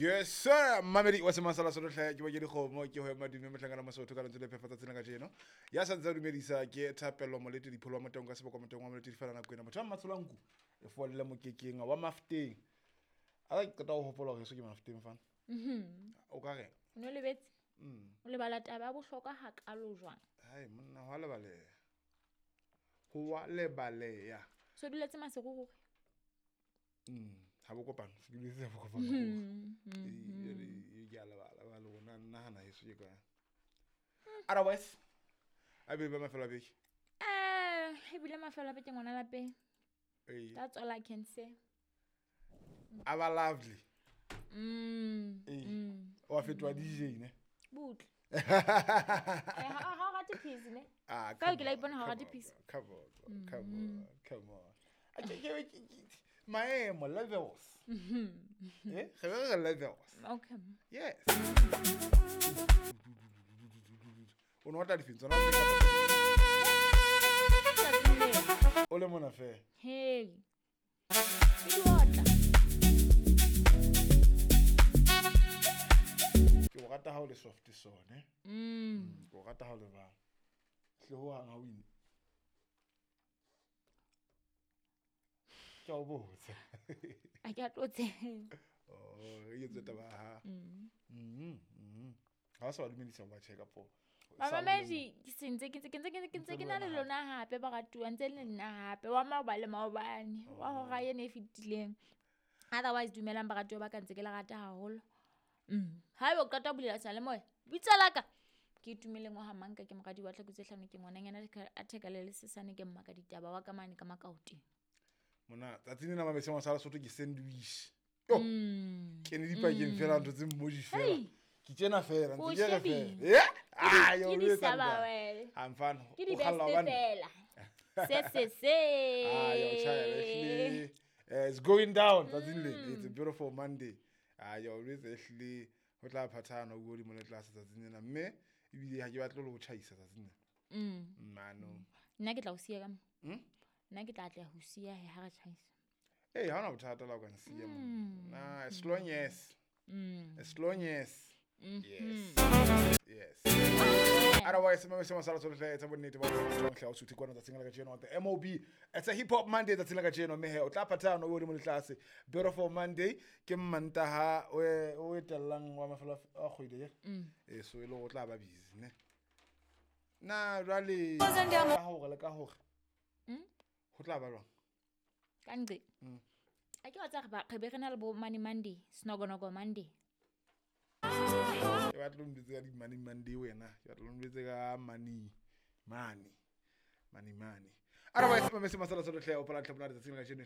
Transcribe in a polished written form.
Yes sir, mamedi wa semasala sotlhe ke ba ke dikgomo ke ho madume mohlangana mosotho ka lentswe le phefa tsatsing la kajeno. Ya sa ntse a dumedisa ke Thapelo Molete dipholo wa moteng ka seboko moteng wa Molete di fela nako ena. Motho wa Mmatsholanku e folle mokekeng wa Mafteng. A ke qeta ho hopola hore heso ke Mafteng fana. O ka reng? O no lebetse? O lebala taba ya bohlokwa hakalo jwang? Hai monna ho a lebaleha. Ho a lebaleha. So duletse Maseru ruri? Ha bo kopano, se duletse ha bo kopano. Ee, ke a lebala ba le rona nahana heso ke kae. Otherwise, a be ba mafelo a beke. Ebile mafelo a beke ngwana lapeng. Ee. That's all I can say. A ba lovely. Ee. Wa fetoha DJ ne? Butle. Ha o rate peace ne? Ah, Ka ke la ipona ha o rate peace. Come on, come on, come on. Maemo levels. Eh, re be re levels. Okay. Yes. O no otla difeng tsona? O le mona fela. Hey. Ke di otla. Ke o rata ha o le soft sone. Ke o rata ha o le bang. Hle ho hang ha o ine. Ke a o botsa. A ke a tlotse. Oh, e etse taba ha. Ha o sa ba dumedisa ba check up. Bamamedi ke sentse ke ntse ke na le lona hape ba ratuwa ntse le nna hape wa maoba le maobane wa hora ena e fetileng. Otherwise dumelang baratuwa ba ka ntse ke le rata haholo. Haeba o qeta ho bulela seyalemoya, bitsa la ka. Ke itumeleng wa ha Manka ke moradi wa Tlhakutse hlano ke ngwananyana a theka le lesesane ke mmaka ditaba wa ka mane ka Makaoteng. Mona tsatsing lena mabese wa sala Sotho ke sandwich. Yo. Ke ne dipakeng fela ntho tse mmoji fela. Ke tjena fela ntse ke re fela. Eh? Ah, yo Ke o di etsa saba nka. wele. Ha mfana. Ke di o kgalla best hobane. fela. Se se se. Ah, yo child, ehlile. It's going down tsatsing le. It's a beautiful Monday. Ah, yo o etsa ehlile ho tla phathana ho godimo le tlase tsatsing lena mme ebile ha ke batle le ho tjhaisa tsatsing lena. Mano. Nna ke tla o siya ka mo. Nna ke tla atleha ho siya he ha re tjhaisa. Ee, ha hona bothata la o ka nsiya monna. Na, as long as. As long as. Yes. Yes. Otherwise, mama sala tsohle tsa bonnete ba tsohle o suthe kwana tsatsing la kajeno the MOB. It's a hip hop Monday tsatsing la kajeno mme he o tla phathana o godimo le tlase. Beautiful Monday ke Mantaha o etellang wa mafelo a kgwedi ye. Eh so e le go tla ba busy ne. Na jwale ka hore le ka hore. Ho tla ba jwang? Ka nqe. A ke wa tsa re be re na le bo Money Monday, Snogonogo Monday. Ke batla o mbitse ka di-Money Monday wena. Ke batla o mbitse ka Money Money. Money Money. Otherwise, mama se masala sohle o pala tlhopona tsatsing la kajeno.